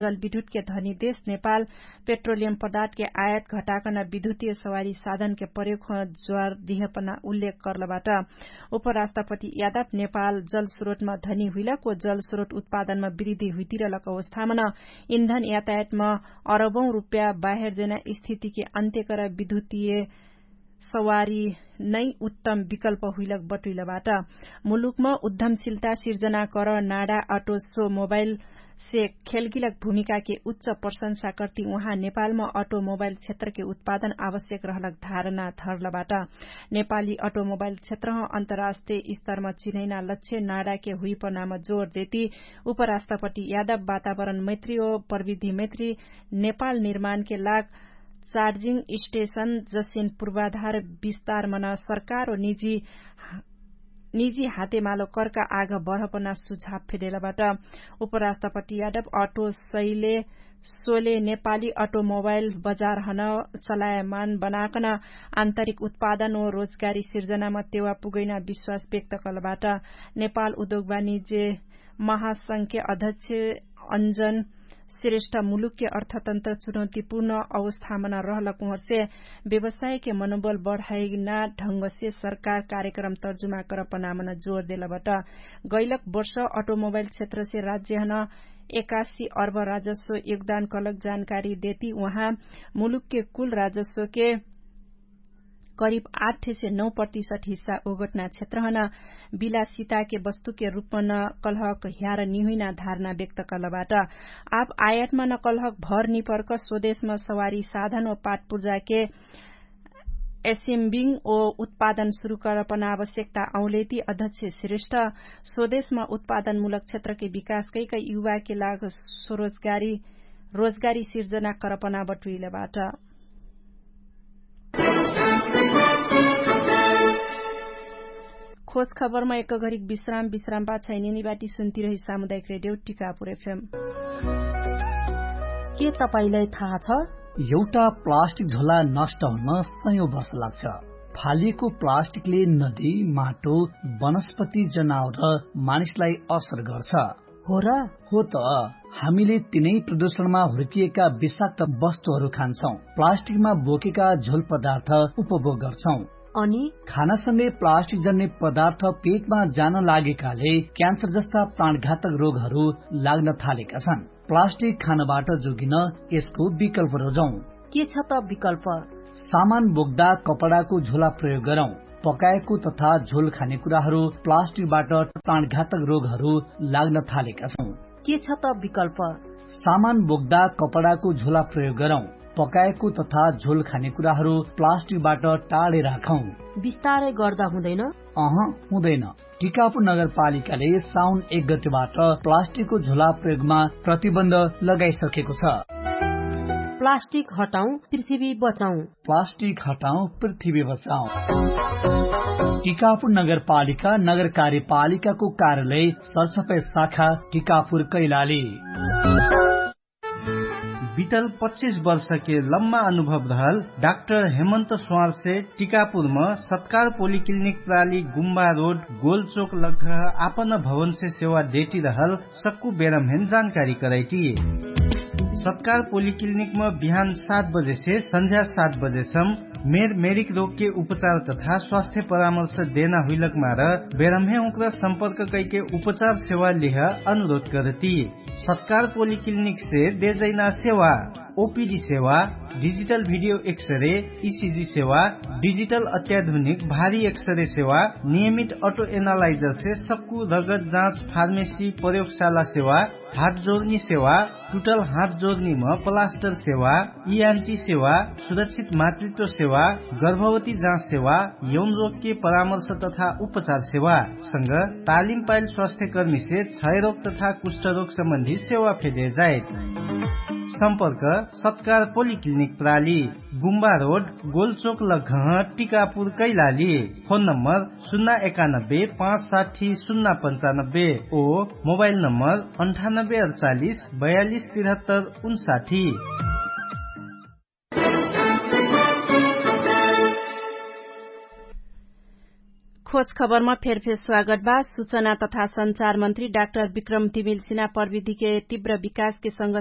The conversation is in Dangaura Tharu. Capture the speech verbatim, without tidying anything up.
जलविद्युतके धनी देश नेपाल पेट्रोलियम पदार्थके आयत घटाकन विद्युतीय सवारी साधनके प्रयोग हुन ज्वार दिहपना उल्लेख कर्लबाट। उपराष्ट्रपति यादव नेपाल जलस्रोतमा धनी हुइलक व जलस्रोत उत्पादनमा वृद्धि हुइतिरलक अवस्थामन इन्धन यातायातमा अरबौं रुप्या बाहेर जेना स्थितिके अन्त्यकर विद्युतीय सवारी नै उत्तम विकल्प हुइलक बटुइलबाट। मुलुकमा उद्धमशिलता सिर्जना कर नाडा अटो सो मोबाइल से खेलगिलक भूमिकाके उच्च प्रशंसा कर्ति उहाँ नेपालमा अटो मोबाइल क्षेत्रके उत्पादन आवश्यक रहलक धारणा धर्लबाट। नेपाली अटो मोबाइल क्षेत्रह अन्तर्राष्ट्रिय स्तरमा चिनैना लक्ष्य नाडाके हुइपनामा जोर देति उपराष्ट्रपति यादव वातावरण मैत्री ओ प्रविधि मैत्री नेपाल निर्माणके लाग चार्जिङ स्टेशन जसिन पूर्वाधार विस्तार मन सरकार ओ निजी निजी हातेमालो कर्का आग बढपना सुझाव फेडेलबाट। उपराष्ट्रपति यादव अटो सैले सोले नेपाली अटोमोबाइल बजारहन चलायमान बनाकन आन्तरिक उत्पादन ओ रोजगारी सिर्जनामा तेवा पुगैना विश्वास व्यक्त कलबाट। नेपाल उद्योग वाणिज्य महासंघके अध्यक्ष अञ्जन श्रेष्ठ मुलुकके अर्थतन्त्र चुनौतीपूर्ण अवस्थामन रहलक उहर्षे व्यवसायके मनोबल बढाइना ढङ्गसे सरकार कार्यक्रम तर्जुमा करपनामन जोर देलबट। गैलक वर्ष अटोमोबाइल क्षेत्रसे राज्यहन एकासी अर्ब राजस्व योगदान कलक जानकारी देती उहाँ मुलुकके कुल राजस्वके करिब आठ से नौ प्रतिशत हिस्सा ओगटना क्षेत्रहन बिलासिताके वस्तुके रूपमा न कलहक ह्यार निहुइना धारणा व्यक्त कलबाट। आब आयतमा न कलहक भर निपर्क स्वदेशमा सवारी साधन व पाटपुर्जाके एसिम्बिङ ओ उत्पादन सुरु करपन आवश्यकता औलेती अध्यक्ष श्रेष्ठ स्वदेशमा उत्पादनमूलक क्षेत्रके विकास कैक युवाके लाग स्वरोजगारी रोजगारी सिर्जना करपना बटुइलबाट। खोज खबरमा एक घरिक विश्राम विश्राम पाछाइ निनिबाटी सुन्तिरही सामुदायिक रेडियो टिकापुर एफएम। के तपाईंलाई थाहा छ? एउटा प्लास्टिक झोला नष्ट हुन सयौं वर्ष लाग्छ। फालिएको प्लास्टिकले नदी, माटो, वनस्पति, जनावर र मानिसलाई असर गर्छ। हो र? हो त। हामीले तिनै प्रदूषणमा हुर्किएका विषाक्त वस्तुहरू खान्छौं, प्लास्टिकमा बोकेका झोल पदार्थ उपभोग गर्छौं। अनि खानासँगै प्लास्टिक जन्ने पदार्थ पेटमा जान लागेकाले क्यान्सर जस्ता प्राणघातक रोगहरू लाग्न थालेका छन्। प्लास्टिक खानबाट जोगिन यसको विकल्प रोजौं। के छ त विकल्प? सामान बोक्दा कपडाको झोला प्रयोग गरौं। पकाएको तथा झोल खाने कुराहरू प्लास्टिकबाट प्राणघातक रोगहरू लाग्न थालेका छौं। के छ त विकल्प? सामान बोक्दा कपडाको झोला प्रयोग गरौं। पकाएको तथा झोल खाने कुराहरू प्लास्टिकबाट टाढे राखौं। बिस्तारै गर्दा हुँदैन? अह, हुँदैन। टिकापुर नगरपालिकाले साउन एक गतेबाट प्लास्टिकको झोला प्रयोगमा प्रतिबन्ध लगाइसकेको छ। प्लास्टिक हटाउँ, पृथ्वी बचाउँ। प्लास्टिक हटाउँ, पृथ्वी बचाउँ। टिकापुर नगरपालिका नगर कार्यपालिकाको कार्यालय सरसफाइ शाखा टिकापुर कैलाली। बितल पच्चिस वर्षके लम्मा अनुभव रहल डाक्टर हेमन्त स्वारसे टिकापुरम सत्कार पोलिक्लिनिक प्राली गुम्बा रोड गोलचोक लग्घ आपन भवनसे सेवा देटी रहल सक्कु बेरमहेन जानकारी करैटी। सत्कार पोलिक्लिनिकम बिहान सात बजेसे सन्झ्या सात बजेसम मेर मेरिक रोगके उपचार तथा स्वास्थ्य परामर्श देना हुइलक मार बेरमहे उक्र सम्पर्क कैके उपचार सेवा लिह अनुरोध करती। सत्कार पोलिक्लिनिकसे देजैना सेवा ओपिडी सेवा, डिजिटल भिडियो एक्सरे, इसिजी सेवा, डिजिटल अत्याधुनिक भारी एक्सरे सेवा, नियमित अटो एनालाइजरसे सक्कु रगत जाँच फार्मेसी प्रयोगशाला सेवा, हात जोर्नी सेवा, टुटल हात जोर्नीम प्लास्टर सेवा, इआन्टी सेवा, सुरक्षित मातृत्व सेवा, गर्भवती जाँच सेवा, यौन रोगके परामर्श तथा उपचार सेवा संग तालिम पाइल स्वास्थ्यकर्मीसे क्षयरोग तथा कुष्ठरोग सम्बन्धी सेवा फेदे जाए। सम्पर्क सत्कार पोलिक्लिनिक प्राली, गुम्बा रोड, गोलचोक लग्घह, टिकापुर कैलाली। फोन नम्बर सुन्ना एकानब्बे पाँच साठी सुन्ना पन्चानब्बे ओ मोबाइल नम्बर अन्ठानब्बे अडचालिस बयालिस तिरहत्तर उन्साठी। पछ खबरमा फेरफेर स्वागत बा। सुचना तथा सञ्चार मन्त्री डाक्टर विक्रम तिमिल सिना प्रविधिके तिव्र विकासके संग